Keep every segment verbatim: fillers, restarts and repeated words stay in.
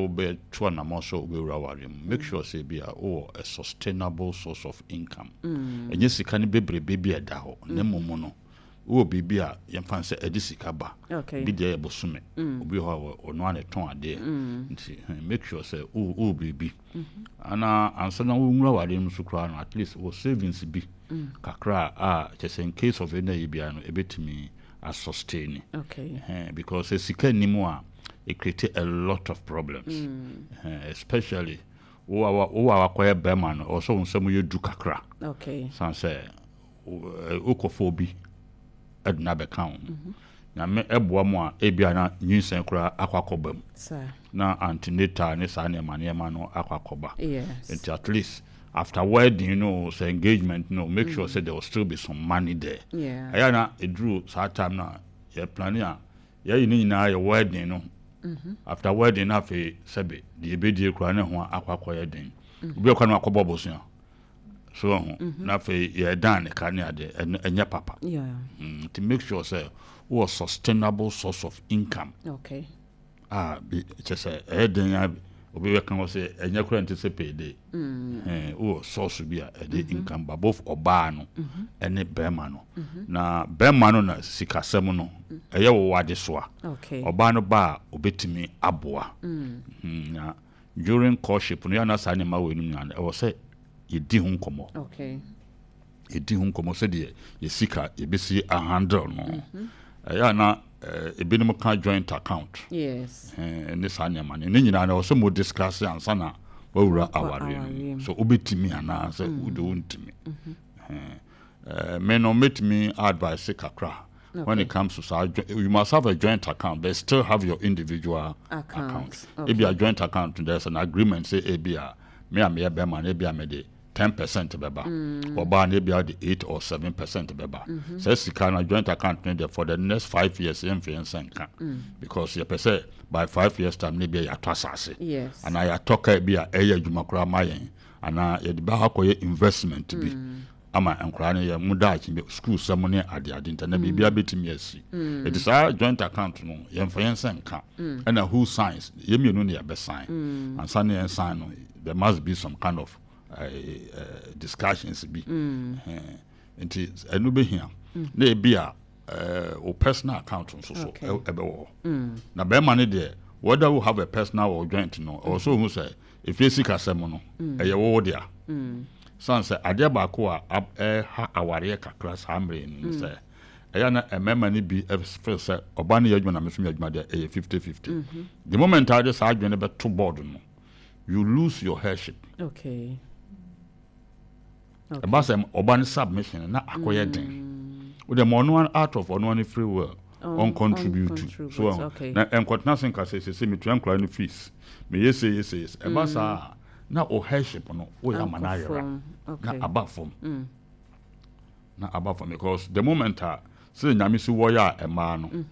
Wobɛto anammɔ sɛ wobɛwura awareɛ mu, make sure sɛ bi a wowɔ a sustainable source of income. Ɛnyɛ sika no bebrebe bi a ɛda hɔ, na mmom no wowɔ biribi a yɛmfa no sɛ ɛde sika ba. Okay. Bi deɛ yɛ bosome, obi wɔ hɔ a ɔno a ne tɔn adeɛ, nti eh, make sure sɛ wowɔ wowɔ biribi ana ansa na wowura awareɛ mu so koraa no, at least wɔ savings bi kakra a kyɛ sɛ in case of ɛna yi biara no, ɛbɛtumi asustain. Okay. Eh, because sɛ sika nni mu a, it create a lot of problems, Eh, especially wo a wa- wo a wakɔyɛ bɛrima no, ɔwɔ sɛ wo nsɛm yɛ du kakra Okay. san sɛ wo- eh, wokɔfa obi ɛde no abɛka wo ho. Nyame ɛboa mu a, ebia na nyinsɛn koraa akɔ akɔba mu Sir. na antenatal ne saa nneɛma nneɛma no akɔ akɔba. Yes. Nti at least after wedding no, sɛ engagement no, make sure sɛ there will still be some money there. Yeah. Ɛyɛ na ɛduru saa time no a yɛ plan a yɛyi ne nyinaa yɛ wedding no, after wedding no, afei sɛbe deɛ yɛbɛdie koraa ne ho akɔ akɔyɛ den. Obi ɔkɔ no akɔbɔ bosea so ho na afei yɛdan ne ka ne adeɛ, ɛno ɛnyɛ papa. Yeah. mm, nti make sure sɛ wowɔ sustainable source of income Okay. a bi kyɛ sɛ ɛyɛ den a obi bɛka hɔ sɛ ɛnyɛ koraa nte sɛ payday. Eh, wowɔ source bi a ɛde income ba, both ɔbaa no ɛne bɛrima no, na bɛrima no na sikasɛm no ɛyɛ wo wade so a Okay. ɔbaa no ba a obɛtumi aboa. Mhm, na during courtship no, yɛana saa nneɛma wɔ anim nyinaa no, ɛwɔ sɛ yɛdi ho nkɔmmɔ. Okay. Yɛdi ho nkɔmmɔ sɛdeɛ yɛsika yɛbɛsi ahandle no. Ɛyɛ a na eh, ebinom ka joint account Yes. eh, ne saa nneɛma no ne nyinaa no, ɛwɔ sɛ mo discuss ansa na wawura Wakɔ awareɛ no awareɛ mu mu. so wobɛtumi anaa sɛ wode wontumi. Eh, me no mɛtumi advice kakra when it comes to saa jo- you must have a joint account but still have your individual account. Account. Okay. Ebi a joint account, there's an agreement sɛ ebi a me a meyɛ bɛrima no, ebi a mede ten percent bɛba, ɔbaa no ebi a de eight or seven percent bɛba. Sɛ sika no joint account no deɛ, for the next five years yɛmfa yɛn nsa nka, because yɛpɛ sɛ by five years time ne bi a yɛatɔ asase Yes. anaa yɛatɔ kaa bi a ɛyɛ adwuma koraa ma yɛn, anaa yɛde bɛ akɔyɛ investment bi ama nkwaraa no yɛ mu daakye bi school sɛm ne adeade, nta na biribia bɛtumi asi. Ɛti saa joint account no, yɛmfa yɛn nsa nka. Ɛna who signs? Yɛn mmienu ne yɛbɛsign. Ansa ne yɛn sign no, there must be some kind of uh, uh, discussions bi. Eh, nti ɛno bɛhia na ebi a uh, wo personal account nso so Okay. ɛ- ɛbɛwɔ hɔ. Na bɛrima no deɛ, whether you have a personal or joint no, ɔwɔ sɛ ohu sɛ efie sikasɛm no ɛyɛ wo dea, san sɛ adeɛ baako a ab- ɛha awareɛ kakra saa mmerɛ yi no sɛ ɛyɛ na mmarima no bi feel sɛ ɔbaa no yɛ adwuma na me nso meyɛ adwuma deɛ, ɛyɛ fifty fifty. The moment a wode saa adwene no bɛto board no, you lose your headship. Okay. Ɛba sɛ ɔba no submission no na akɔyɛ den, wode ma ɔno out of ɔno ano free will ɔncontribute. Ɔncontribute, so ɛho okay. na ɛnkɔtena se nka sɛ sɛ metua nkora no fees, meyɛ se yɛ se yɛ se. Ɛba saa a, na o headship no woyɛ ama no Ankɔ ayera fam. na Okay. aba fam, na aba fam, because the moment a sɛ Nyame si wɔyɛ a ɛmaa no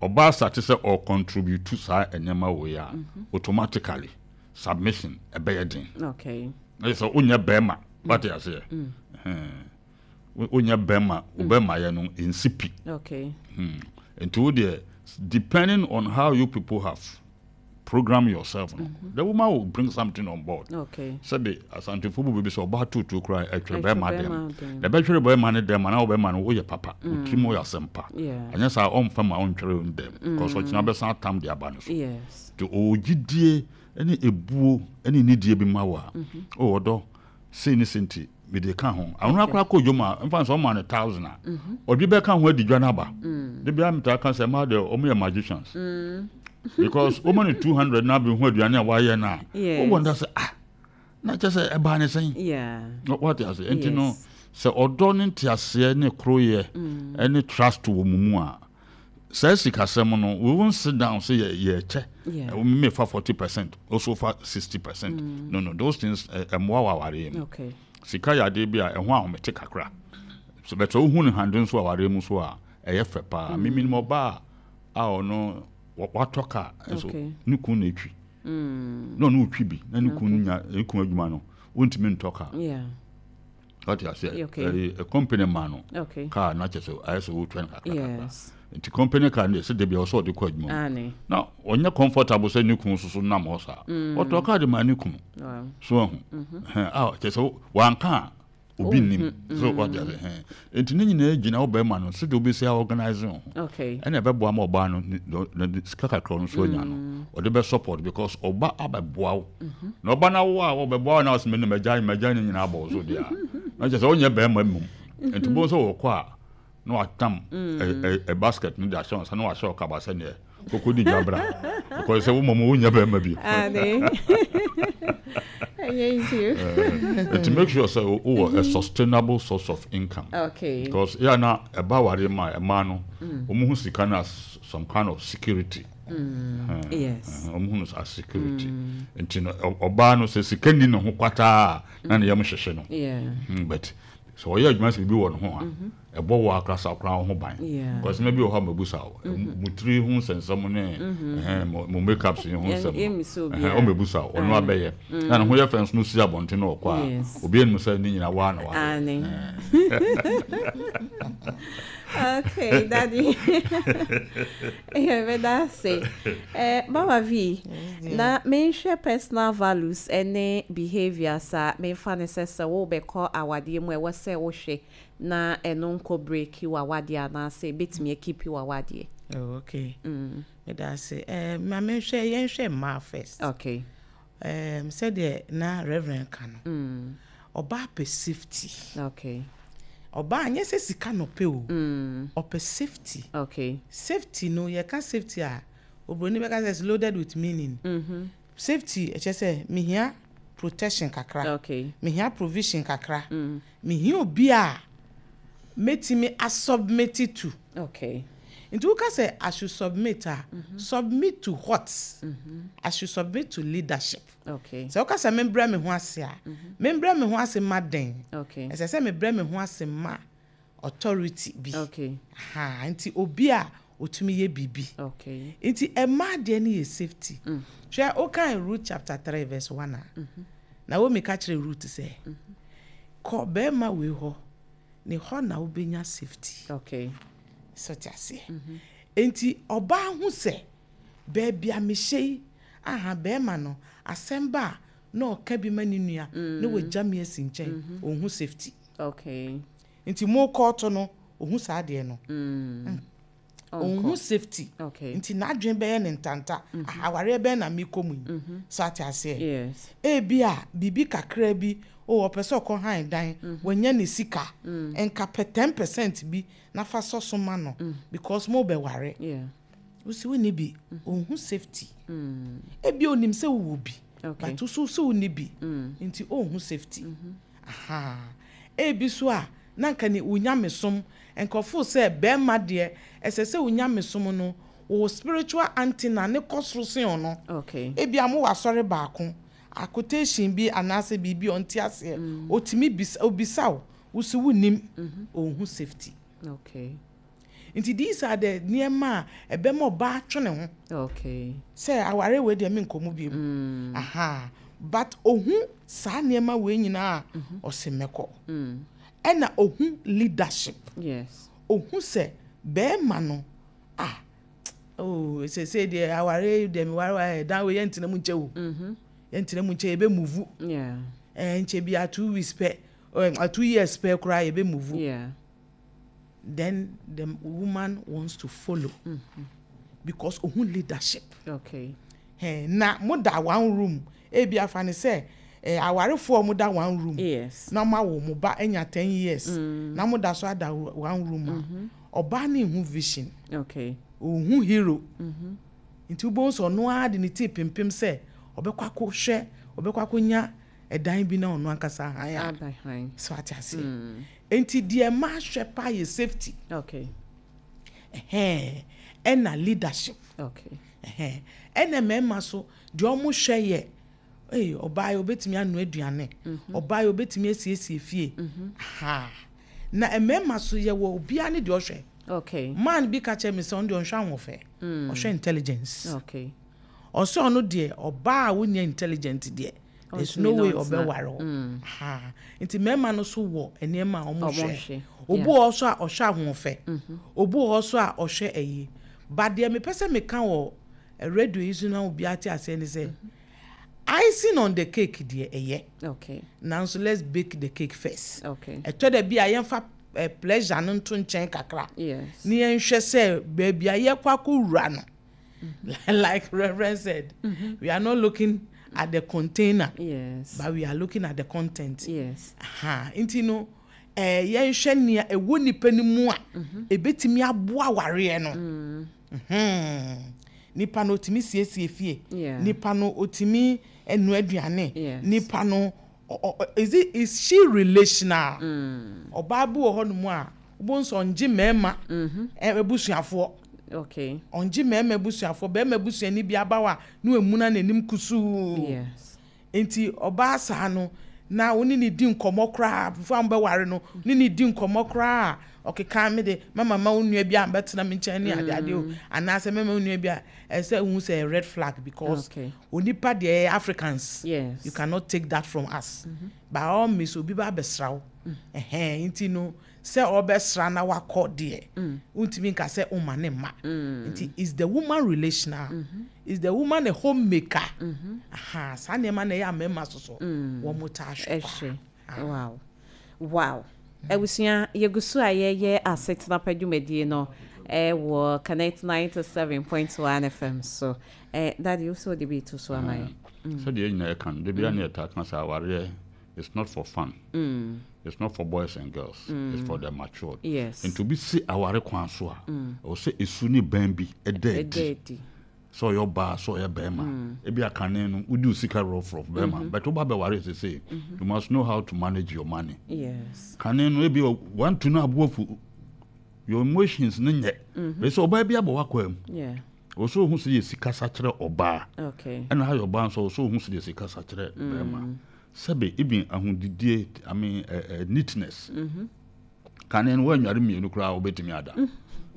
ɔbaa start sɛ ɔcontribute saa nneɛma wɔ yi a, automatically submission ɛbɛyɛ den. Okay. Na yɛ sɛ wonyɛ bɛrima, wate aseɛ? Ɛhɛn. Wo- wonyɛ bɛrima, wo bɛrima yɛ no nsi pi. Okay. Hmm. Nti wo deɛ, depending on how you people have programmed yourself no, the woman will bring something on board. Okay. Sɛbi, Asantefo bu baabi sɛ ɔbaa tuutu koraa ɛtwerɛ ɛtwerɛ bɛrima bɛrima dɛm dɛm. Na ɛbɛtwerɛ bɛrima no dɛm anaa wobɛrima no woyɛ papa, wotirim woyɛ asɛm pa. Yeah. Ɛnyɛ saa ɔmfa ma ɔntwerɛ wo dɛm, because ɔkyena bɛsan atam de aba no so. Yes. Nti ɔwɔ gyidie ne ebuo ne nidie bi ma wo a ɔwɔ dɔ sei ne sei, nti mede ka ho ahono akora kɔ dwom a mfa sɛ ɔma no thousand a ɔde bɛka ho adi dwa no aba de bia. Metaa ka sɛ ma deɛ, ɔmo yɛ magicians, because woma no two hundred na abɛhu aduane a wayɛ no a, Yes. wowɔ nda sɛ, ah, na kyɛ sɛ ɛbaa ne sɛn? Yeah. Wate ase? Nti no Yes. sɛ ɔdɔ ne nteaseɛ ne koroyɛ ne trust wɔ mu mu a, saa sikasɛm no, we won't sit down sɛ yɛ yɛkyɛ. Yeah. Mefa forty percent, also fa sixty percent. no no those things ɛmmoa wɔ awareɛ mu. Okay. Sika yɛ adeɛ bi a ɛho ahomete kakra so, bɛtɛ wohu ne hande nso awareɛ mu so a, ɛyɛ fɛ paa. mm. Memenim ɔbaa a ɔno wa- watɔ kaa nso Okay. ne kun na etwi na ɔno otwi bi na ne kun nya ne kun adwuma no, wontumi ntɔ kaa. Yeah. Wate aseɛ? Okay. Ɛyi company ma no Okay. car na kyerɛ sɛ ayɛ sɛ wotwa no kakra kakra. Yes. Nti company car no deɛ, sɛ da bia ɔsɛ ɔde kɔ adwuma mu Ane. na ɔnyɛ comfortable sɛ ne kunu soso nam hɔ saa, ɔtɔ car de ma ne kunu. Wow. So ahu ɛhɛn, a kyerɛ sɛ wanka a obi nim so, wate aseɛ? Ɛhɛn, nti ne nyinaa gyina wo bɛrima no sɛdeɛ wobɛsi a organise wo ho. Okay. Ɛna ɛbɛboa ma ɔbaa no ne- ne- ne sika kakra no so anya no, ɔde bɛ support because ɔba abɛboa wo na ɔba no awo a ɔbɛboa wo na ɔsɛ mene magya magya ne nyinaa abɔ wo so deɛ a, na kyerɛ sɛ wonyɛ bɛrima mmom. Nti bo sɛ wɔkɔ a na watam ɛ- ɛ- ɛ basket no de ahyɛ wo nsa na wahyɛ wo kaba sɛneɛ koko di dwa bra, because sɛ wo mmom wonyɛ bɛrima bio. Ane. Ɛnyɛ easy. Nti make sure sɛ wowɔ a sustainable source of income. Okay. Because yɛ na ɛba aware ma ɛmaa no, wɔn ho sika no as some kind of security. Yes. Wɔn ho no as security. Nti no ɔ- ɔbaa no sɛ sika ni ne ho kwataa a, na ne yam hyehyɛ no. Yeah. Mm, but sɛ ɔyɛ adwuma sɛ biribi wɔ ne ho a, ɛbɔ wɔ akrasa koraa ho ban. Yeah. Because nneɛma bi wɔ hɔ a mabusa wo, mo tiri ho nsɛnsɛm ne ɛhɛn, mo mo makeups yi ho Yɛn- nsɛm yɛmmisa no, obiara. ɛhɛn, ɔmmɛbusa wo, ɔno abɛyɛ na ne ho yɛ fɛ nso no si abɔnten na ɔkɔ a, Yes. obi anim sɛ ne nyinaa waa na waa. Ane. Okay, Daddy. Yeah, but that's it. Eh, Mama V, na menhwɛ personal values ɛne behaviors a memfa ne sɛ sɛ wobɛkɔ awadeɛ mu, ɛwɔ sɛ wohwɛ na ɛno nkɔ break w'awadeɛ anaasɛ ɛbɛtumi akeep w'awadeɛ. Oh, okay. Meda ase. Eh, ma menhwɛ, yɛnhwɛ mmaa first. Okay. Um, sɛdeɛ na Reverend ka no, Mm. ɔbaa pɛ safety. Okay. Ɔbaa nyɛ sɛ sika na ɔpɛ o. Mm. Ɔpɛ safety. Okay. Safety no, yɛka safety a, oburoni bɛka sɛ it's loaded with meaning. Mm-hmm. Safety ɛkyɛ sɛ mehia protection kakra. Okay. Mehia provision kakra. Mm. Mehia obi a mɛtumi asubmit to. Okay. Nti woka sɛ I should submit a, submit to what? I should submit to leadership. Okay. Sɛ woka sɛ membrɛ me ho ase a, membrɛ me ho ase ma den? Okay. Ɛsɛ sɛ mebrɛ me ho ase ma authority bi. Okay. Ha, nti obi a otumi yɛ biribi. Okay. Nti ɛmaa deɛ no yɛ safety. Hwɛ, wokan Ruth chapter three verse one a, Naomi ka kyerɛ Ruth sɛ kɔ bɛrima wei hɔ, ne hɔ na wobɛnya safety. Okay. Sɛ ɔte aseɛ, nti ɔbaa ho sɛ baabi a mehyɛ yi aha, bɛrima no asɛm ba a na ɔka bi ma ne nua na wagya me asi nkyɛn, ɔnhu safety. Okay. Nti mo kɔɔto no, ɔhu saa adeɛ no, Mm. ɔnhu safety. Okay. Nti n'adwene bɛyɛ ne ntanta. Ah, awareɛ bɛn na mekɔ mu yi? So ate aseɛ? Yes. Ebi a biribi kakra bi o, ɔpɛ sɛ ɔkɔ han dan, wanya ne sika, nka pɛ ten percent bi na fa sɔ so ma no because mo bɛware. Yeah. Wosi wonni bi, ɔnhu safety. Ebi onim sɛ wowɔ bi, Okay. but woso sɛ wonni bi, nti ɔnhu safety. Aha, ebi so a na nka ne wo nyamesom nkɔfo sɛ bɛrima deɛ, ɛsɛ sɛ wo nyamesom no, wo spiritual antenna ne kɔ soro sen ɔno. Okay. Ebi a mo wɔ asɔre baako a, quotation bi anaasɛ biribi a ɔnte aseɛ, otumi bisa, obisa wo, wosi wonim, ɔnhu safety. Okay. Nti these are the nneɛma a ɛbɛma ɔbaa twe ne ho Okay. sɛ aware wei deɛ, menkɔ mu bio. Aha, but ohu saa nneɛma wei nyinaa a, ɔse mɛkɔ. Ɛna ohu leadership. Yes. Ohu sɛ bɛrima no ah, oh, sese deɛ aware deɛ meware wa ɛdan wei, yɛntena mu nkyɛ o, yɛntena mu nkyɛ, yɛbɛ move. Yeah. Ɛɛ nkyɛ bi a two weeks pɛ, ɛɛ two years pɛ koraa, yɛbɛ move. Yeah. Then the woman wants to follow because ohu leadership. Okay. Ɛn na mo da one room, ebi afa ne sɛ ɛɛ awarefoɔ mo da one room. Yes. Na mo awo mo ba anya ten years na mo da so ada one room a, ɔbaa ne hu vision. Okay. Ohu hero, nti wobɛhu sɛ ɔno ara de ne tii pimpim sɛ ɔbɛkɔ akɔhwɛ, ɔbɛkɔ akɔnya ɛdan bi na ɔno ankasa han a. Aba han. So ate aseɛ? Nti deɛ mmaa hwɛ paa yɛ safety. Okay. Ɛhɛn, ɛna leadership. Okay. Ɛhɛn, ɛna mmarima so deɛ ɔmo hwɛ yɛ ee ɔbaa yi obetumi anoa aduane, ɔbaa yi obetumi asiesie fie ha. Na mmarima so yɛ wɔ obiara ne deɛ ɔhwɛ. Okay. Man bi ka kyerɛ me sɛ ɔno deɛ, ɔnhwɛ ahoɔfɛ, ɔhwɛ intelligence. Okay. Ɔsɛ ɔno deɛ, ɔbaa a wonya intelligent deɛ There's Ɔntumi no na way ɔntena. ɔbɛware wo. Ha, nti mmarima no so wɔ nneɛma a ɔmo Ɔmo hwɛ. hwɛ, Obi yeah. wɔ hɔ so a ɔhwɛ ahoɔfɛ, obi wɔ hɔ so a ɔhwɛ ayi, but deɛ mepɛ sɛ meka wɔ eh, radio yi so na obi ate aseɛ ne sɛ icing on the cake deɛ, ɛyɛ, Okay. nanso let's bake the cake first. Okay. Ɛtɔ da bi a yɛmfa eh, pleasure no nto nkyɛn kakra Yes. ne yɛnhwɛ sɛ baabi a yɛkɔ akɔwura no, like Reverend said, we are not looking at the container, Yes. but we are looking at the content. Yes. Aha, nti no ɛɛ yɛnhwɛ nea ɛwɔ nipa no mu a ebetumi aboa awareɛ no. Mhm. nipa no otumi siesie fie, Yeah. nipa no otumi ɛnu aduane, Yes. nipa no ɔ- ɔ- is it is she relational? Ɔbaa bi wɔ hɔnom a wobɔ nso ɔngye mmarima ɛ abusuafoɔ. Okay. Ɔngye mmarima abusuafoɔ, barima abusuani bi aba hɔ a na wamuna n'anim kusuu. Yes. Nti ɔbaa saa no na wo ne ne di nkɔmmɔ koraa before a mobɛware no, ne ne di nkɔmmɔ koraa a ɔkeka me de mama ma wo nua bi a mbɛtena me nkyɛn ne adeade o, anaasɛ mɛma wo nua bi a, ɛsɛ wohu sɛ ɛyɛ red flag because Okay. onipa deɛ, ɛyɛ Africans, Yes. you cannot take that from us. By all means, obi ba abɛsra wo, ɛhɛn, nti no sɛ ɔbɛsra na wakɔ deɛ, wontumi nka sɛ woma ne mma. Nti is the woman relational? Is the woman a homemaker? Aha, saa nneɛma na ɛyɛ ammarima soso wɔn mo taa hwɛ paa. Ɛhwɛ. Wow. Wow. Abusua, yɛgu so a yɛyɛ asetena pa dwumadie no ɛwɔ Connect ninety-seven point one F M so. Eh, Daddy, wo sɛ wode bi to so ama yɛn. Sɛdeɛ yɛn nyinaa yɛka no, da biara ne yɛtaa ka sɛ awareɛ is not for fun, it's not for boys and girls, it's for the matured. Yes. Nti obi si aware kwan so a, ɛwɔ sɛ esu ne bɛn bi ɛda Ɛda adi adi. sɛ ɔyɛ ɔbaa, sɛ ɔyɛ bɛrima. Ebi akane no wodi wo sika rɔfrɔf bɛrima, but woba bɛware sese, you must know how to manage your money. Yes. Kane no ebi wantu no aboafu, your emotions no nyɛ bɛ sɛ ɔbaa bi abɔ wakɔ mu. Yeah. Ɔwɔ sɛ ohu sɛ yɛ sika sa kyerɛ ɔbaa, Okay. ɛna ayɛ ɔbaa nso ɔwɔ sɛ ohu sɛ yɛ sika sa kyerɛ bɛrima. Sɛbe even ahodidie, I mean, uh, uh, neatness, kane no woanware mmienu koraa wobɛtumi ada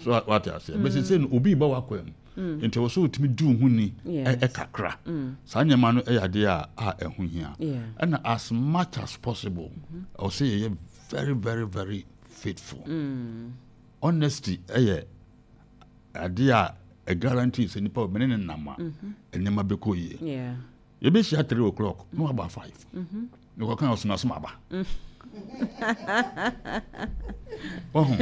so wate aseɛ. Bɛsɛ sɛ no obi ba wakɔ mu, nti ɛwɔ sɛ wotumi di wo ho ni Yes. ɛ- ɛkakra. Saa nneɛma no ɛyɛ adeɛ a a ɛho hia. Yeah. Ɛna as much as possible, ɛwɔ sɛ yɛyɛ very very very faithful. Honesty ɛyɛ adeɛ a ɛ guarantee sɛ nipa mene ne nam a, nneɛma bɛkɔ yie. Yeah. Yɛbɛhyia three o'clock na waba five, mekɔka ɔsomasom aba ɔho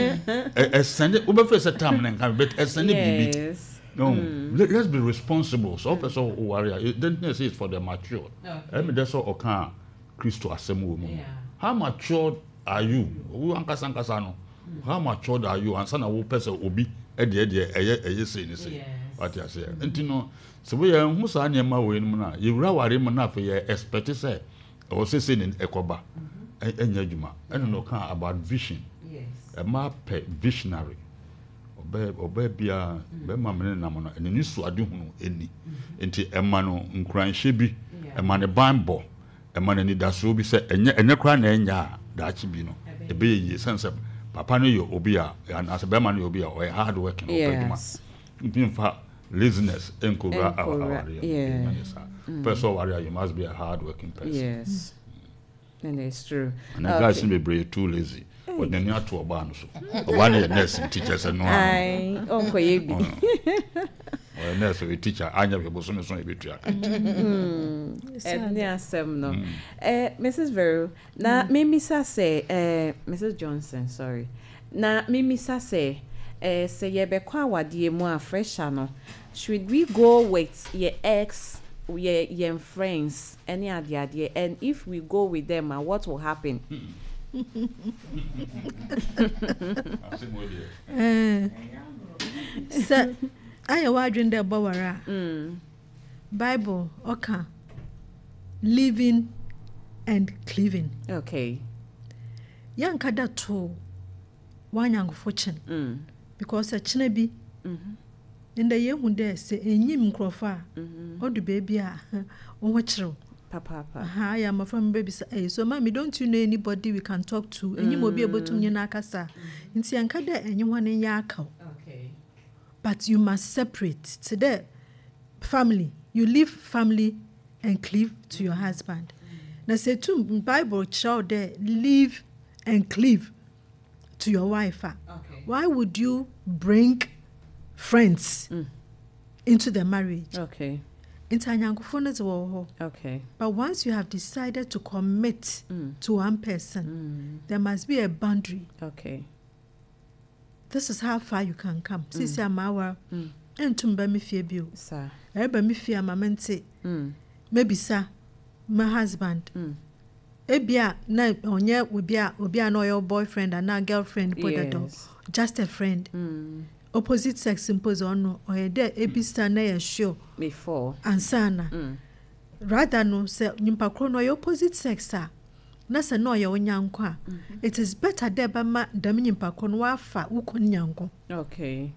ɛsɛnde wobɛfɛ sɛ tam ne nka, but ɛsɛnde biribi. Yes. No, let, let's be responsible. So wopɛ sɛ woware a, then say it's for the mature. Ɛmi dɛ sɛ ɔka a Kristo asɛm wɔ mu no, how matured are you? Wo ankasa ankasa no, how matured are you ansa na wopɛ sɛ obi ɛdeɛ deɛ ɛyɛ ɛyɛ sei ne sei? Wate aseɛ? Nti no sɛ woyɛ ho saa nneɛma wɔ mu no a, yɛwura ware mu no, afei yɛ expect sɛ ɛwɔ sɛ sei ne ɛkɔba. ɛ- ɛnyɛ adwuma. Ɛna na ɔka about vision, ɛma pɛ visionary ɔbɛ ɔbɛ bia bɛrima mene nam no ɛnani so ade hunu ɛni, nti ɛma no nkuranhyɛ bi, ɛma ne ban bɔ, ɛma no anidasoɔ bi sɛ ɛnyɛ ɛnyɛ koraa na ɛnyɛ a daakye bi no ɛbɛyɛ yie, sɛn sɛ papa no yɛ obi a, anaasɛ bɛrima no yɛ obi a ɔyɛ hard working, ɔpɛ adwuma. Yes. Nti nfa laziness nkowura Nkowura, awareɛ yeah. mu. Ɛnyɛ saa. Pɛ sɛ ɔware a, you must be a hard working person. Yes. And it's true. And guys no bebree too lazy, ɔde n'ani ato ɔbaa no so. Ɔbaa no yɛ nurse, nti kyerɛ sɛ no ano. Aye. Ɔnkɔyɛ bi. Ɔyɛ nurse, ɔyɛ teacher, anyɛ hwɛ bosome so ɛbɛtua ka. Ɛne asɛm no. Eh, Missus Vero, na memisa sɛ, eh, Missus Johnson, sorry. Na memisa sɛ, eh, sɛ yɛbɛkɔ awadeɛ mu a fresher no, should we go with your ex, yɛ yɛn friends ɛne adeadeɛ, and if we go with them, ah, what will happen? Asɛm wɔ deɛ. Eh, sɛ ayɛ w'adwene dɛ bɔware a, Bible ɔka leaving and cleaving. Okay. Yɛnka da to w'anyankofo kyen Mm. because ɛkyena bi ndɛ yɛhu dɛ sɛ ɛnyim nkurɔfo a ɔdu baabi a wo ho kyerɛw. Papaapa. Aha, ayɛ mmɔfra m bɛbisa, "Hey, so mommy, don't you know anybody we can talk to? Ɛnyim obi a ɛbɛtum nye no akasa?" Nti yɛnka dɛ ɛnye hɔ no nyɛ akaw, Okay. but you must separate to the family. You leave family and cleave to your husband. Na sɛ tum Bible kyerɛ wo dɛ leave and cleave to your wife a, Okay. why would you bring friends Mm. into the marriage? Okay. Nti anyankofo no dze wɔ hɔ. Okay. But once you have decided to commit Mm. to one person, Mm. there must be a boundary. Okay. This is how far you can come. Sisi ama Mm. ntum ba me fie bio. Sir. Ɛreba me fie ama mente Mm. mebisa my husband. Mm. Ebia na ɔnyɛ obi a obi a na ɔyɛ wo boyfriend anaa girlfriend po dada. Yes. Just a friend. Mm. Opposite sex mpo dze, ɔno ɔyɛ dɛ ebisa na yɛ sure Before. ansana. Mm. Rather no, sɛ nyimpa koro no ɔyɛ opposite sex a, na sɛ na ɔyɛ wo nyanko a, it is better dɛ bɛma dɛm nyimpa koro no wafa wo kun nyanko. Okay.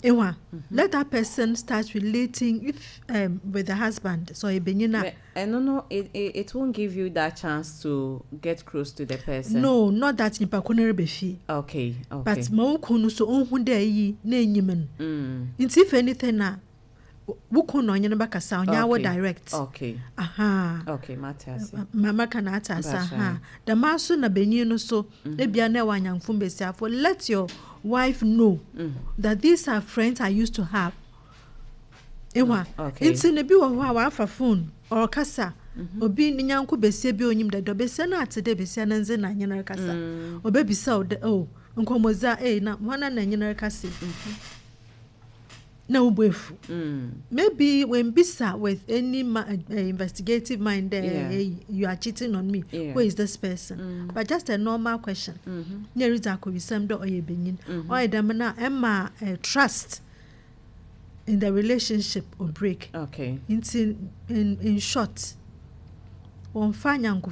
Ewa, let that person start relating if um, with the husband, so ɔyɛ benyin a. But, and no, no, it, it, it won't give you that chance to get close to the person. No, not that nyimpa koro no reba fie. Okay. Okay. But ma wo kun no so ɔnhu dɛ eyi na enyim no. Mm. Nti if anything a, wo kun na ɔnye no bɛkasa, ɔnyɛ awo Okay. direct. Okay. Aha. Okay. Matthias. Mama ka na ate ase. Mpakyɛ. Aha, dɛm aso na benyin no so, ebia na ɛwɔ anyamfo mbesiafo, let your wife know Mm. that these are friends I used to have. Ewa. Okay. Nti na bi wɔ hɔ a wafa phone ɔrekasa, obi ne nyanko besia bi a onyim dada, besia no ate dɛ besia no ndze na nye no rekasa. Mm. Obebisa wo dɛ, oh, nkɔmmɔdzi a ei, na hwana na nye no rekasa yi? Na wo bo efu. Mm. Maybe when bisa with any ma- uh, investigative mind there, Yeah. hey, you are cheating on me, Yeah. who is this person? Mm. But just a normal question. Mm-hmm. Na eridzi akɔwisɛm dɛ ɔyɛ benyin. Mhm. Ɔyɛ dɛm na ɛma uh, trust in the relationship or break. Okay. Nti in in short, wɔmfa anyankofo